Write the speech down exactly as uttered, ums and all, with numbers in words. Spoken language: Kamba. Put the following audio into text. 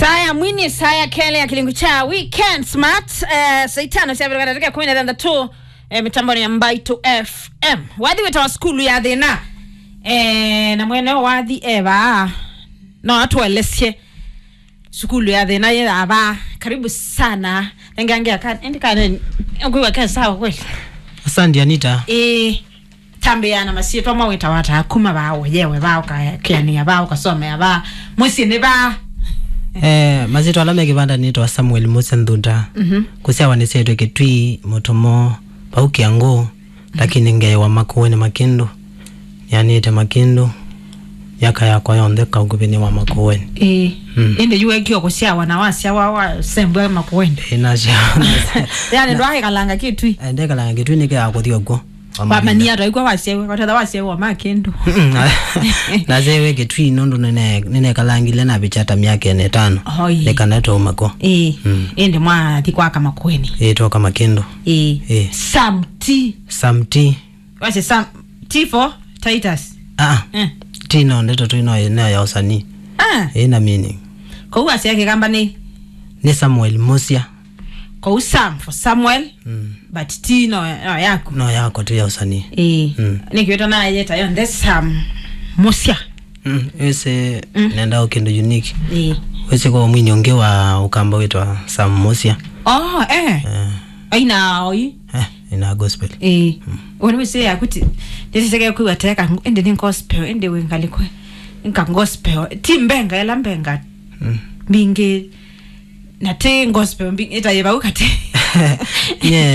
Aya, mwini Isaya Kele ya kilingu cha Weekend Smart, eh, saa itano sya vĩla katatũ ka kũmi na thanthatũ, eh, mitamboni ya Mbaitũ F M. Wathi wĩtawa Sukulu ya Thĩna. Eh, na mwene wathi eva. No atũelesye Sukulu ya Thĩna yĩ ava. Karibu sana. Nengange aka, endi kane, ũkwĩwa ke sawa kweli? Asante, Anita. Eh. Tambĩaa na masyĩtwa, mawĩtawa ata, kuma vaa ũyewe vaa, ũkakeanĩa vaa, ũkasomea vaa, mũsyĩ nĩ vaa? Eh, masyĩtwa ala me kĩvanda nĩtawa Samuel Musa Nthunda. Mhm. Kũsyawa nĩsyaĩtwe Kĩtui, Mũtomo, vau Kĩangũ, lakini ngeewa Makueni Makĩndũ. Nĩanĩte Makĩndũ myaka yakwa yonthe kaukuvĩnĩ wa Makueni. Ĩĩ. Mm. Ĩndĩ yu wekio kũsyawa na wasyawa wasembwa Makueni? Ĩĩ, nasyawa. Yaani, ndwaĩkalanga Kĩtui? Eh, ndekalanga Kĩtui nĩkĩaa kũthi ũkw'o. Wamanyia atwaikwa wasyawa, watetha wasyawa Makĩndũ. Mm, na, nasyawa Kĩtui nũndũ nĩne-, nĩnekalangile na vicha ta myaka ĩna ĩtano. Oi. Nĩ kana twauma kw'o. Ĩĩ. Mm. Ĩndĩ mwathi kwaka Makueni? Ĩĩ, twoka Makĩndũ. Ĩĩ. Ĩĩ. Sam T. Sam T. Wasye Sam T for Titus. Ah, ah. Eh. T no ndeto tu, no, no ya ũsanii. Ah. Ĩĩ, na meaning. Kũu wasya Kĩkamba nĩ? Nĩ Samuel Musia. Kũu Sam for Samuel, mm, but T no, no yaku. No yakwa tu ya ũsanii. Ĩĩ. Mm. Nĩkĩo tũnayeta yonthe Sam Musia. Mm, wĩsĩ, mm, nenda o kĩndũ unique. Ĩĩ. Wĩsĩ kwa mwini ũngĩ wa Ũkamba wĩtwa Sam Musia. Oh, eh. Eh. Aina oi. Eh, ina gospel. Ĩĩ. Mm. Wona wĩsĩ yaku ti, ndĩsĩseke kwĩwa teka, ĩndĩ nĩ gospel, ĩndĩ wĩ ngalĩko nĩ ka gospel. Ti mbenga, ĩla mbenga, mm, mbingĩ, na ti gospel mbi-, ĩtaĩ vau katĩ. Nye,